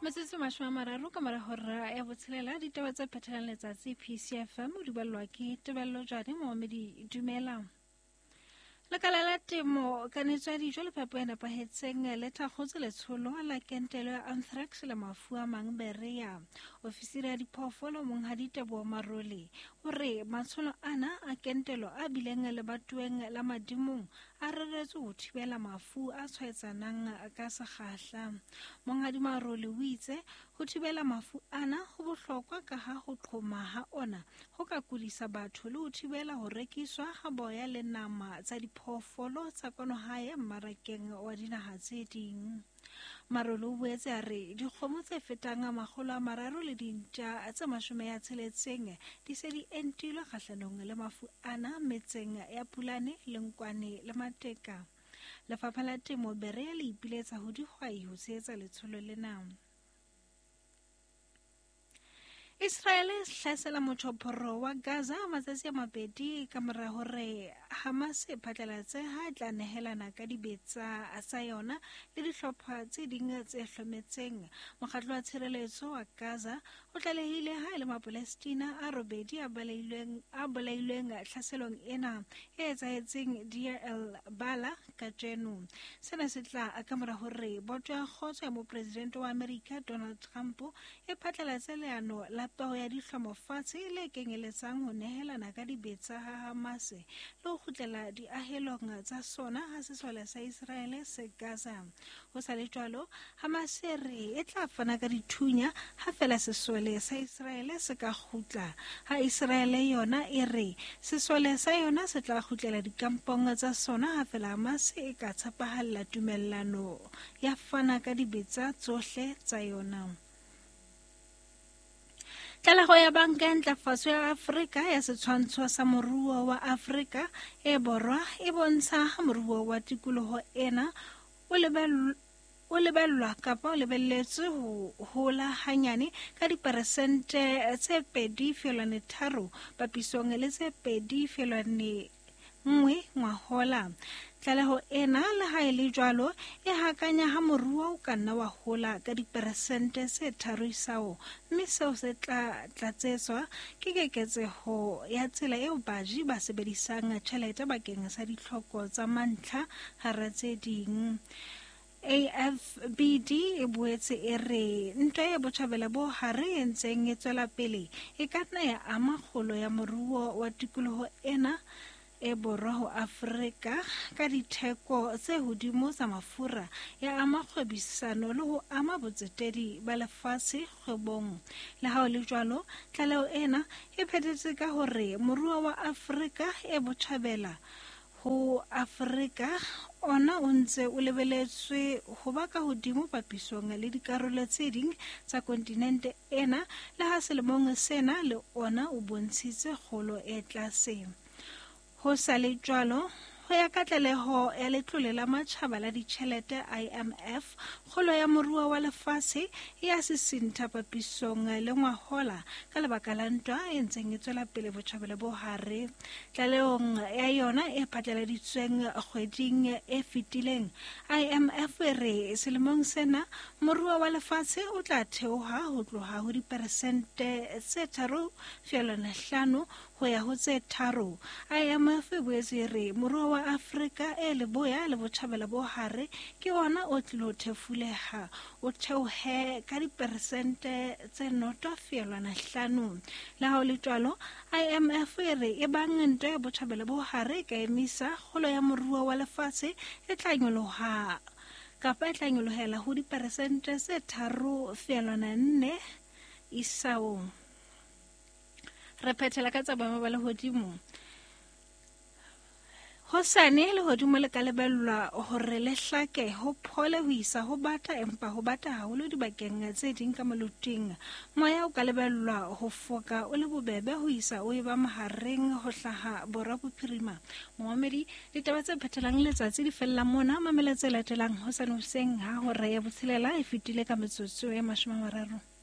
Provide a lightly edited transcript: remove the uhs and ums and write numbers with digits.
Metsotso 30 ka mora hora ya botshelela, ditaba tse phethelang letsatsi PCFM o di ballwa ke Tebello Jane. Momamedi, dumela. Lekala la temo, kanetso ya dijo le phepo e nepahetseng le thakgotse letsholo la kentelo ya anthrax le mafu a mang Berea. Ofisiri ya diphoofolo Monghadi Teboho Marole o re matsholo ana a kentelo a bileng lebatoweng la Madimong a reretswe ho thibela mafu a tshwaetsanang ka sekgahla. Monghadi Marole o itse ho thibela mafu ana ho bohlokwa ka ha ho qhoma ha ona ho ka kudisa batho le ho thibela ho rekiswa ha boya le nama tsa diphoofolo tsa kwano hae mmarakeng wa dinaha tse ding. Marole o boetse a re dikgomo tse fetang 300 le dintja tse 60 di se di entilwe kgahlanong le mafu ana metseng ya Pulane, Lenkwane le Mateka. Lefapha la Temo Berea le ipiletsa ho dihwai ho tshehetsa letsholo lena. Israel e hlasela motjhophoro wa Gaza matsatsi a mabedi ka mora hore Hamas e phatlalatse ha e tla nehelana ka dibetsa tsa yona le dihlopha tse ding tse hlometseng. Mokgatlo wa tshireletso wa Gaza o tlalehile ha e le Mapalestina a robedi a bolailweng tlhaselong ena e etsahetseng Deir el Balah kajeno. Sena se tla ka mora hore boto ya kgotso ya mopresidente wa Amerika Donald Trump e phatlalatse leano la peo ya dihlomo fatshe le kenyeletsang ho nehelana ka dibetsa ha Hamas le ho kgutlela diahelong tsa sona ha sesole sa Israele se Gaza. Ho sa le jwalo, Hamas e re e tla fana ka dithunya ha fela sesole sa Israele se ka kgutla. Ha Israele yona e re sesole sa yona se tla kgutlela dikampong tsa sona ha fela Hamas e ka tshepahalla tumellano ya fana ka dibetsa tsohle tsa yona. Tlaleho ya Banka ya Ntlafatso ya Afrika ya setshwantsho sa moruo wa Afrika e Borwa e bontsha ha moruo wa tikoloho ena o lebellwa kapa o lebelletswe ho hola hanyane ka diperesente tse 2.3 papisong le tse 2.1 ngwahola. Tlaleho ena le ha e le jwalo e hakanya ha moruo o ka nna wa hola ka diperesente tse 3 isao, mme seo se tla tlatsetswa ke keketseho ya tsela eo baji ba sebedisang tjhelete bakeng sa ditlhoko tsa mantlha hara tse ding. AFBD e boetse e re ntwa ya botjhabela bo hare e ntseng e tswela pele e ka nna ya ama kgolo ya moruo wa tikoloho ena e borwa ho Afrika ka ditheko tse hodimo tsa mafura, ya ama kgwebisano le ho ama botsetedi ba lefatshe kgwebong. Le ha ho le jwalo, tlaleho ena e phethetse ka hore moruo wa Afrika e botjhabela ho Afrika ona o ntse o lebeletswe ho ba ka hodimo papisong le dikarolo tse ding tsa kontinente ena, le ha selemong sena le ona o bontshitse kgolo e tlase. Ho sa le jwalo, ho ya ka tlaleho ya Letlole la Matjhaba la Ditjhelete IMF, kgolo ya moruo wa lefatshe e a sisintha papisong le ngwahola ka lebaka la ntwa e ntseng e tswela pele botjhabela bo hare. Tlalehong ya yona e phatlaladitsweng kgweding e fetileng, IMF e re selemong sena moruo wa lefatshe o tla theoha ho tloha ho diperesente tse 3.5 ho ya ho tse 3. IMF e boetse e re moruo wa Afrika e leboya le botjhabela bo hare ke ona o tlilo thefuleha, o theohe ka diperesente tse 0.5. Le ha ho le jwalo, IMF e re e bang ntwa ya botjhabela bo hare e ka emisa, kgolo ya moruo wa lefatshe e tla nyoloha kapa e tla nyolohela ho diperesente tse 3.4 isaong. Re phethela ka tsa boemo ba lehodimo. Hosane lehodimo le ka lebellwa hore le hlake ho phole ho isa ho bata, empa ho bata haholo dibakeng tse ding ka moluting. Moya o ka lebellwa ho foka o le bobebe ho isa o eba mahareng ho hlaha borwa bophirima. Momamedi, ditaba tse phethelang letsatsi di fella mona. Mamela tse latelang hosane hoseng ha hora ya botshelela e fetile ka metsotso ya 30.